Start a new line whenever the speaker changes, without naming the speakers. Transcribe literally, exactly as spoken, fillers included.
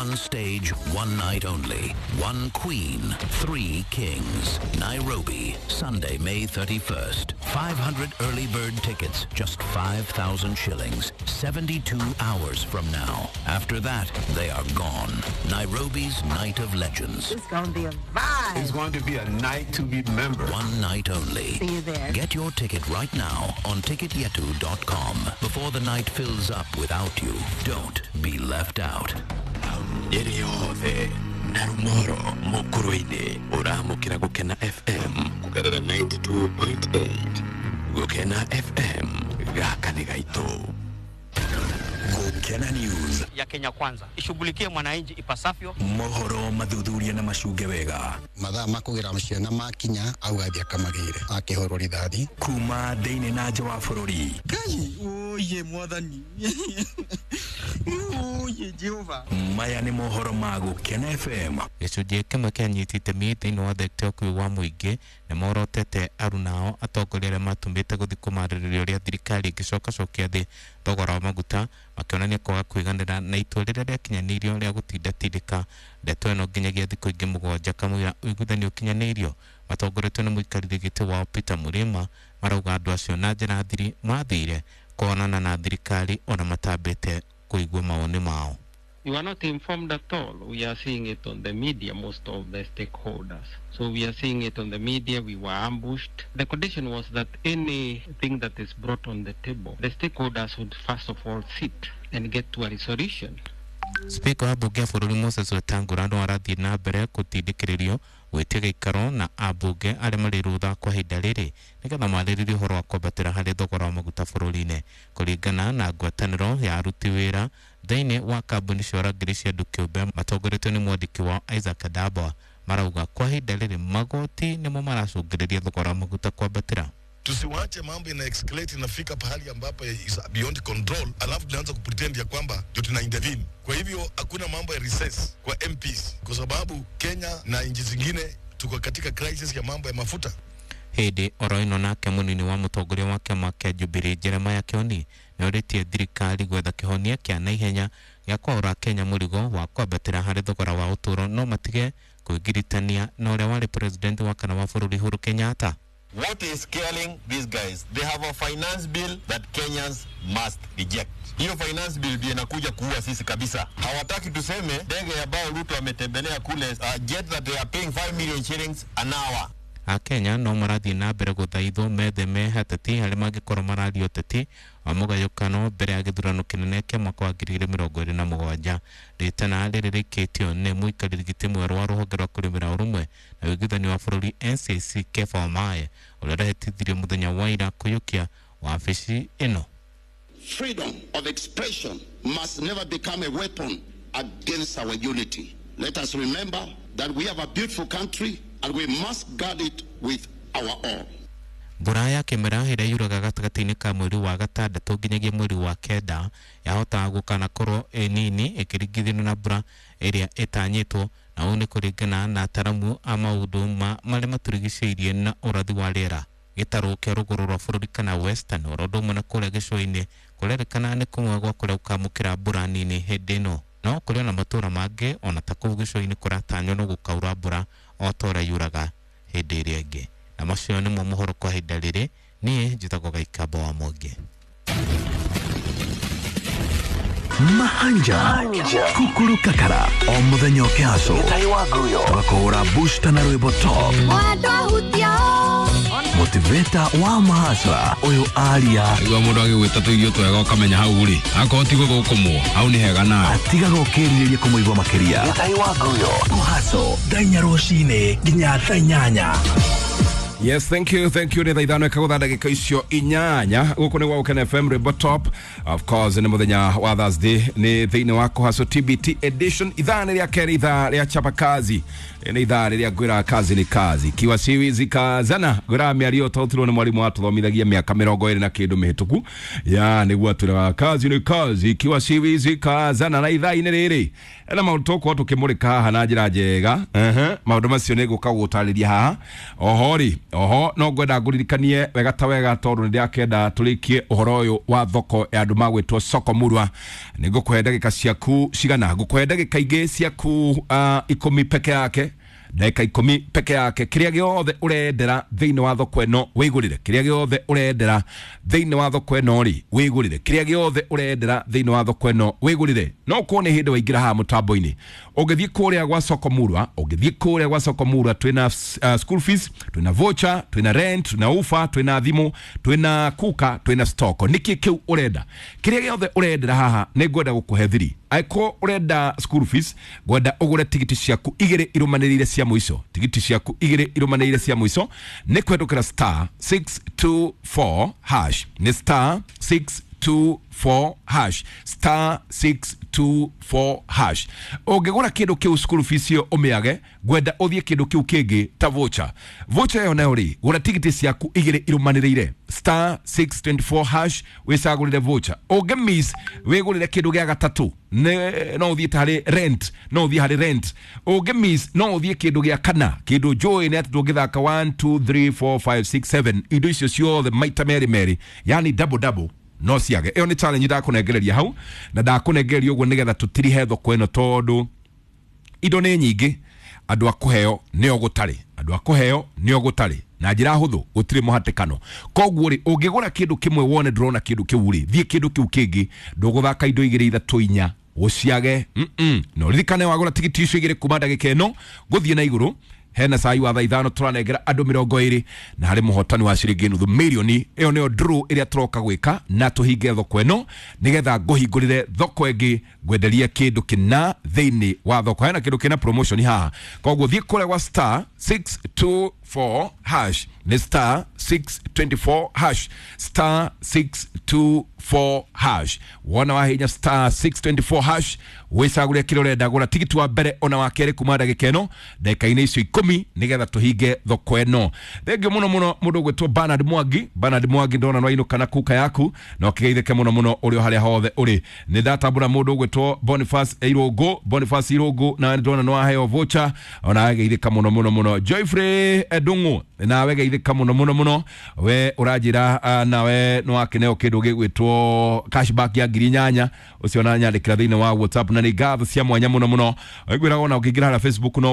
One stage, one night only. One queen, three kings. Nairobi, Sunday, May thirty-first. five hundred early bird tickets, just five thousand shillings. seventy-two hours from now. After that, they are gone. Nairobi's Night of Legends.
It's going to be a vibe.
It's going to be a night to remember.
One night only.
See you there.
Get your ticket right now on ticket yetu dot com before the night fills up without you. Don't be left out.
Ĩrĩ yothe na rumoro mũkũrũ-inĩ ũramũkĩra Gũkena F M kũgerera ninety-two point eight. Gũkena F M gaka nĩ gaitũ.
Gũkena News
ya Kenya Kwanza ishughulikie mwananchi ipasavyo.
Mohoro mathuthuria na macunge wega.
Mathaa ma kũgĩra ciana makinya auga thiĩ akamagĩre akĩhũrwo rithathi
kuma thĩinĩ na nja wa bũrũri.
Ngai oye mwathani oye Jehova.
Maya nĩ mohoro ma Gũkena F M.
Gĩcunjĩ kĩmwe kĩa anyiti itemi thĩinĩ wa thekta ya ũkuui wa mũingĩ nĩ morotete arunao atongoria arĩa matũmĩte gũthiĩ kũmarĩrĩria ũrĩa thirikari ĩngĩcokacokia thĩ thogora wa maguta, makĩonania kwaga kũiganĩra na itua rĩrĩa rĩakinyanĩirio rĩa gũtindatindĩka ndeto ĩno nginyagia thikũ ingĩ mũgwanja kamũira ũiguithanio ũkinyanĩirio. Matongoretio nĩ mũikarĩri gĩtĩ wao Peter Murima marauga andũ acio na njĩra thiri mathire kuonana na thirikari ona matambĩte kũigua mawoni mao.
You are not informed at all. We are seeing it on the media, most of the stakeholders. So we are seeing it on the media. We were ambushed. The condition was that anything that is brought on the table, the stakeholders would first of all sit and get to a resolution.
Speaker wa bunge ya bũrũri Moses Wetangula no arathiĩ na mbere gũtindĩkĩrĩrio gwĩtia gĩikaro na ambunge arĩa marĩ rũtha kwa ihinda rĩrĩ nĩgetha marĩrĩrie ũhoro wa kwambatĩra harĩ thogora wa maguta bũrũri-inĩ. Kũringana na ngwatanĩro ya aruti wĩra thĩinĩ wa kambuni cia ũrangĩri cia andũ kĩũmbe matongoretio nĩ mwandĩki wao Isaac Adabwa, marauga kwa ihinda rĩrĩ magoti nĩmo maracũngĩrĩria thogora wa maguta kwambatĩra.
Tusiwache mambo ina escalate inafika pahali ambapo is beyond control, alafu tunaanza kupretend ya kwamba ndio tuna intervene. Kwa hivyo hakuna mambo ya recess kwa M Ps kwa sababu Kenya na nchi zingine tuko katika crisis ya mambo ya mafuta.
Hĩndĩ oro ĩno nake mũnini wa mũtongoria wa kĩama kĩa Jubilee Jeremiah Kioni nĩorĩtie thirikari gwetha kĩhonia kĩa naihenya gĩa kwaũra Kenya mũrigo wa kwambatĩra harĩ thogora wa ũtũũro no matige kwĩgiritania na ũrĩa warĩ president wa kana wa bũrũri Uhuru Kenyatta.
What is scaling these guys? They have a finance bill that Kenyans must reject. Hiyo finance bill ndio inakuja kuua sisi kabisa. Hawataki tuseme ndege ambayo Ruto ametembelea kule, uh, jet that they are paying five million shillings an hour.
Akenya no marathiĩ na mbere gũthaithwo metheme hateti harĩa mangĩkorwo mararia ũteti wa mũgayũkano mbere ya gĩthurano kĩnene kĩa mwaka wa ngiri igĩrĩ mĩrongo ĩrĩ na mũgwanja. Rĩtana rĩrĩ rĩikĩtio nĩ mũikarĩri gĩtĩ mwerũ wa rũhonge rwa kũrĩmĩra ũrũmwe na ũiguithanio wa bũrũri N C C Kepha Wamae ũrĩa ũrahĩtithirio mũthenya wa ira kũiyũkia wabici ĩno.
Freedom of expression must never become a weapon against our unity. Let us remember that we have a beautiful country and we must guard it with our all.
Mbura ya kĩmera ĩrĩa yuraga gatagatĩ-inĩ ka mweri wa gatandatũ nginyagia mweri wa kenda yahotaga gũkanakorwo ĩ nini ĩkĩringithanio na mbura ĩrĩa ĩtanyĩtwo, na ũũ nĩ kũringana na ataramu a maũndũ ma marĩa matũrigicĩirie na ũrathi wa rĩera. Gĩtarũ kĩa rũgũrũ rwa bũrũri kana Western oro ũndũ ũmwe na kũrĩa gĩcũa-inĩ kũrerĩkana nĩ kũmwe gwa kũrĩa gũkamũkĩra mbura nini hĩndĩ ĩno, no kũrĩ ona matũũra mangĩ ona ta kũu gĩcũa-inĩ kũratanywo no gũkaura mbura o ta ũrĩa yuraga hĩndĩ ĩrĩa ĩngĩ. Na macio nĩmo mohoro kwa ihinda rĩrĩ. Niĩ njĩtagwo Gaikamba wa Mwangi.
Mahanja Kukuru Kakara o muthenya ũkĩhacwo tũgakũhũra booster na rwĩmbo top motivator wa mahasra ũyũ aria
igua mũndũ agĩgwĩta tũirio twega ũkamenya hau rĩ akorwo ti gũgũkũmwo hau nĩ hega nawe
atigaga ũkĩrirĩria kũmũigua makĩria. Kũhacwo thaa inya rũcinĩ nginya thaa inyanya.
Yes, thank you, thank you. Nĩ thaa ithano ĩkagũtha ndagĩka icio inyanya. Gũkũ nĩ gwa Gũkena F M Rwĩmbo Top. Of course, nĩ mũthenya wa Thursday, nĩ thĩinĩ wa Kũhacwo T B T edition. Ithaa nĩ rĩa kerĩ, ithaa rĩa chapa kazi. Nĩ ithaa rĩrĩa ngwĩraga kazi nĩ kazi. Kiwa siwizi kazana. Ngwĩraga mĩario twarutirwo nĩ mwarimũ watũthomithagia mĩaka mĩrongo ĩrĩ na kĩndũ mĩhĩtũku. Ya, nĩguo atwĩraga kazi nĩ kazi. Kiwa siwizi kazana. Na ithaa-inĩ rĩrĩ ena maũndũ tũgũkorwo tũkĩmũrĩka haha na njĩra njega. Maũndũ macio nĩ ngũka gũgũtarĩria haha. Oho rĩ, Oho no ngwenda ngũririkanie wega ta wega tondũ nĩ ndĩrakĩenda tũrĩkie ũhoro ũyũ wa thoko ya andũ magwĩtwo soko murwa. Nĩ ngũkũhe ndagĩka ciaku cigana? Ngũkũhe ndagĩka ingĩ ciaku uh, ikũmi peke yake, ndagĩka ikũmi peke yake. Kĩrĩa gĩothe ũrendera thĩinĩ wa thoko ĩno wĩgũrĩre, kĩrĩa gĩothe ũrendera thĩinĩ wa thoko ĩno rĩ wĩgũrĩre, kĩrĩa gĩothe ũrendera thĩinĩ wa thoko ĩno wĩgũrĩre. No ũkorwo nĩ hĩndĩ waingĩra haha mũtambo-inĩ, ũngĩthiĩ kũrĩa gwa soko murwa, ũngĩthiĩ kũrĩa gwa soko murwa twĩna uh, school fees, twĩna voucher, twĩna rent, twĩna ufa, twĩna thimũ, twĩna kuka, twĩna stock. Nĩkĩ kĩu ũrenda? Kĩrĩa gĩothe ũrendera haha nĩ ngwenda gũkũhe thiri. Angĩkorwo ũrenda school fees, ngwenda ũgũre tigiti ciaku igĩrĩ irũmanĩrĩire cia mũico, tigiti ciaku igĩrĩ irũmanĩrĩire cia mũico nĩ kũhetũkĩra star six two four hash, nĩ star six two four hash, star six two four hash. Ũngĩgũra kĩndũ kĩu school fees ĩyo ũmĩage, ngwenda ũthiĩ kĩndũ kĩu kĩngĩ ta voucher. Voucher ĩyo nayo rĩ, gũra tigiti ciaku igĩrĩ irũmanĩrĩire star six twenty four hash, wĩcagũrĩre voucher. Ũngĩ miss wĩgũrĩre kĩndũ gĩa gatatũ, no ũthiĩ ta harĩ rent, no ũthiĩ harĩ rent. Ũngĩ miss no ũthiĩ kĩndũ gĩa kana, kĩndũ njũĩ nĩ atĩ ndũngĩthaka one two three four five six seven, indo icio ciothe maita merĩ merĩ, yani double double no ciage. Ĩyo nĩ challenge ndakũnengereria hau, na ndakũnengereria ũguo nĩgetha tũtirihe thoko ĩno tondũ indo nĩ nyingĩ, andũ a kũheo nĩo gũtarĩ, andũ a kũheo nĩo gũtarĩ na njĩra hũthũ, gũtirĩ mũhatĩkano. Koguo rĩ, ũngĩgũra kĩndũ kĩmwe wone ndũrona kĩndũ kĩu rĩ, thiĩ kĩndũ kĩu kĩngĩ, ndũgũthaka indo igĩrĩ ithatũ inya ũciage. Mm-mm. No ririkane wagũra tigiti icio igĩrĩ kuma ndagĩka ĩno gũthiĩ na igũrũ, hena cai wa thaa ithano tũranengera andũ mĩrongo ĩrĩ na harĩ mũhotani wa ciringi nuthu mirioni. Ĩyo nĩyo draw ĩrĩa tũroka gwĩka na tũhinge thoko ĩno nĩgetha ngũhingũrĩre thoko ĩngĩ ngwenderie kĩndũ kĩna thĩinĩ wa thoko. Hena kĩndũ kĩna promotion haha, koguo thiĩ kũrĩa gwa star six two four hash, nĩ star six twenty four hash, star six two four hash. Wona wahinya star six twenty four hash wĩcagũre kĩrĩa ũrenda, gũra tigiti wa mbere ona wa kerĩ kuma ndagĩka ĩno ndagĩka-inĩ icio ikũmi nĩgetha tũhinge thoko ĩno. Thengiũ mũno mũno mũndũ ũgwĩtwo Bernard Mwangi. Bernard Mwangi ndona no ainũka na kuka yaku na ũkĩgeithĩke mũno mũno ũrĩ o harĩa hothe ũrĩ. Nĩ ndatambũra mũndũ ũgwĩtwo Boniface Irũngũ, Boniface Irũngũ na ndona no waheo voucher ona ageithĩka mũno mũno mũno. Joyfrey Ndung'u nawe geithĩka mũno mũno mũno, we ũranjĩra nawe no wakĩneo kĩndũ gĩgwĩtwo cashback ya ngiri inyanya, ũcio na nyandĩkĩra thĩinĩ wa WhatsApp, na nĩ ngatho cia mwanya mũno mũno. Ngwĩraga ona ũkĩingĩra harĩa Facebook no